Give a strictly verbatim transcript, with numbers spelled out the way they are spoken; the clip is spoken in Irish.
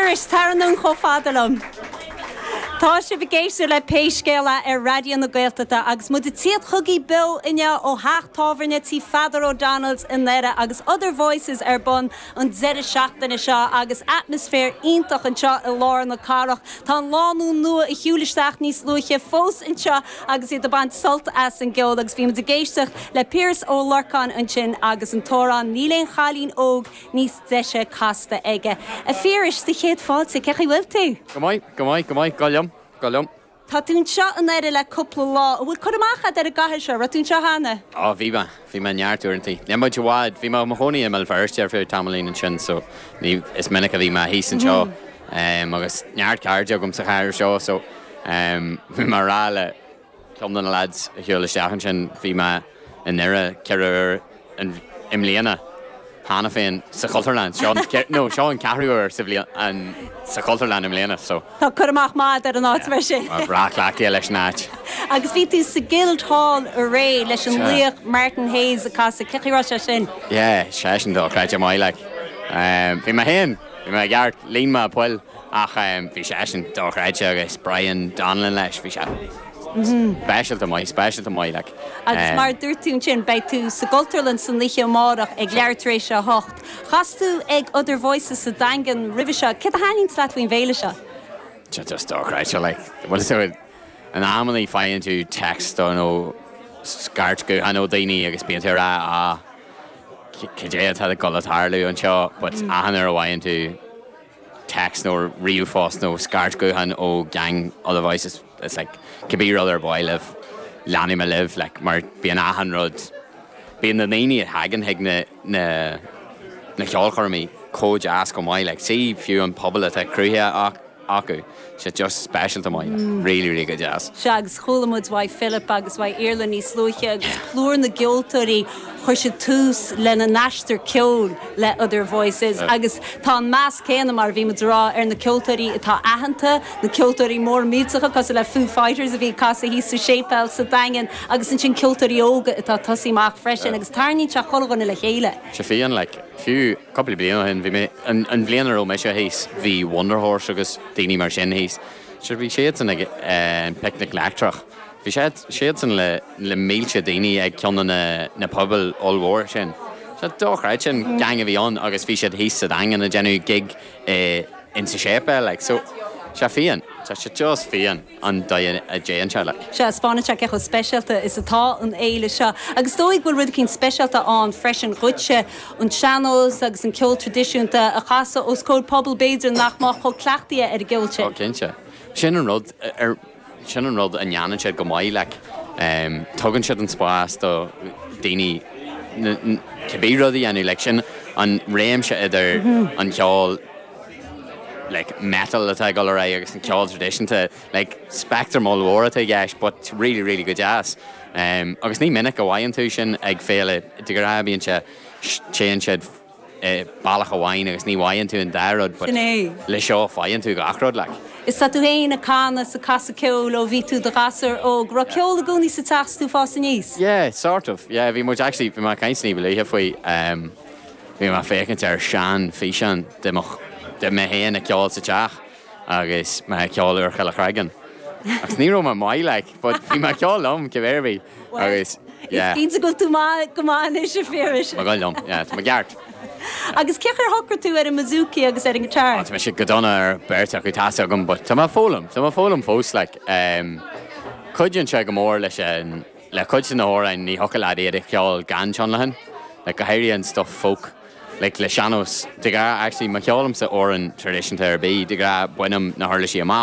Phiarais, tar anonn chomh fada liom. Tá sibh ag éisteacht le Pé Scéal É ar Raidió na Gaeltachta agus muid ag tíocht chugaibh beo inniu ó theach tábhairne Tí Pheadar O'Donnell's i nDoire agus Other Voices ar bun an deireadh seachtaine seo agus atmaisféar iontach anseo i lár na cathrach. Tá an lánúin nua a shiúil isteach níos luaithe fós anseo agus iad ag baint sult as an gceol agus bhí muid ag éisteacht le Piaras Ó Lorcáin ansin agus an t-amhrán níl aon chailín óg níos deise casta aige. A Phiarais sa chéad fáilte cén chaoi a bhfuil tú? Go maith, go maith, go maith, go liom, go liom. Tá tú anseo i nDoire le cúpla lá, an bhfuil cur amach agat ar an gcathair seo, raibh tú anseo cheana? Á bhí mé bhí mé neart uaireanta. Ní muid i bhfad, bhí mé i mo chónaí i mBéal Feirste ar feadh tamaillín ansin so ní is minic a bhí mé thíos anseo um, agus neart cairde agam sa chathair seo so um, bhí mé ag rá le ceann de na lads a shiúil isteach ansin bhí mé i nDoire ceithre huair i mbliana cheana féin sa Chultúrlann seo nó seo an ceathrú huair sa bhliain an sa Chultúrlann i mbliana so. Tá cur amach maith ar an áit mar sin. Breá cleachtaithe leis an áit. Agus bhí tú sa Guildhall aréir leis an laoch Martin Hayes ag casadh cén chaoi a raibh sé sin. Yeah, sé sin dochreidte maith like. Um, bhí mé féin, bhí mé ceart líon mé poill ach um, bhí sé sin dochreidte agus Brian Donlin leis bhí sé speisialta maith, speisialta maith like. Agus mar dúirt tú sin beidh tú sa gCultúrlann san oíche amárach ag leathuair tar éis a hocht. Chas tú ag Other Voices sa Daingean roimhe seo, Céard a thaitníonn leat faoin bhféile seo? Just just dochreidte like. Well so in amannaí faigheann tú text nó scairt gutháin ó daoine agus bíonn tú rá á cad é atá ag dul a tharlú anseo, but achan uair a bhfaigheann tú text nó ríomhphost nó scairt gutháin ó gang Other Voices it's like cibé rud ar bith libh leanfaidh mé libh like mar bíonn achan rud bíonn na daoine a thagann chuig na na na ceolchoirmí chomh deas go maith like sí fiú an pobal atá cruthaithe acu sé just speisialta maith mm. really really go deas. Se agus chuala muid uaidh Philip agus uaidh Iarla níos luaithe agus plúr na gceoltóirí chuir siad tús lena n-aistear ceoil le Other Voices agus tá an meas céanna mar bhí muid ag rá ar na ceoltóirí atá aitheanta, na ceoltóirí mór millteacha cosúil le Foo Fighters a bhí casadh thíos sa séipéal sa Daingean agus ansin ceoltóirí óga atá ag tosú amach freisin agus tarraingíonn sé chuile dhuine le chéile. Se fi an like fiú cúpla bliain ó shin bhí mé an an bhliain a raibh mise thíos bhí Wunderhorse agus daoine mar sin thíos. Se bhí siadsan ag uh, Picnic Leictreach. Bhí siad siadsan le le mílte daoine ag ceann na na pubaill ollmhór sin. Se dochreidte sin gang a bhí ann agus bhí siad thíos sa Daingean ag déanamh gig eh, in sa séipéal like so sé fiáin Tá sé just fiáin an dóigh a dtéann sé like. Se spána se chomh speisialta is atá an fhéile seo. Agus dóigh bhfuil rud éicint speisialta ann freisin dhuitse an sean-nós agus an ceol traidisiúnta a chasadh os comhair pobal b'fhéidir nach mbeadh chomh cleachtaithe ar an gceol sin. Ó cinnte. Sin an rud ar sin an rud a ndéanann siad go maith like um, tugann siad an spás do daoine cibé rud a dhéanamh like sin an réimse idir an ceol like metal atá ag dul ar aghaidh agus an ceol traidisiúnta like spectrum ollmhór atá i gceist but really really go deas. Um, agus ní minic a bhfaigheann tú sin ag féile de ghnáth bíonn sé téann siad eh, bealach amháin agus ní bhfaigheann tú an dá rud but Sin é. le seo faigheann tú gach rud like. Is tá tú féin ag canadh is ag casadh ceoil ó bhí tú i do ghasúr óg, raibh ceol i gcónaí sa teach tú ag fás aníos. Yeah, sort of. Yeah, bhí muid actually bhí mé ag caint ní ba luaithe faoi um, bhí mé féachaint ar sean físeán de mo de mé féin ag ceol sa teach agus mé ag ceol Úrchill Chreagáin. Agus ní raibh mé maith like, but bhí mé ag ceol liom cibé ar bith agus yeah, Is cinnte go tú maith go maith anois a Phiarais. Má liom, yeah, tá mé ceart. Agus cén chaoi ar shocraigh tú ar an mbouzouki agus ar an guitar. Tá mé sé go dona ar beirt acu tá agam, but tá mé ag foghlaim, tá mé ag foghlaim fós like, um, cuidíonn sé go mór leis an le cuid de na hamhráin ní thiocfadh leat iad a cheol gan tionlacan, like, go háirithe an stuff folk. Like, le sean-nós de ghnáth actually má cheolaimse amhrán traidisiúnta ar bith de ghnáth bainim na huirlisí amach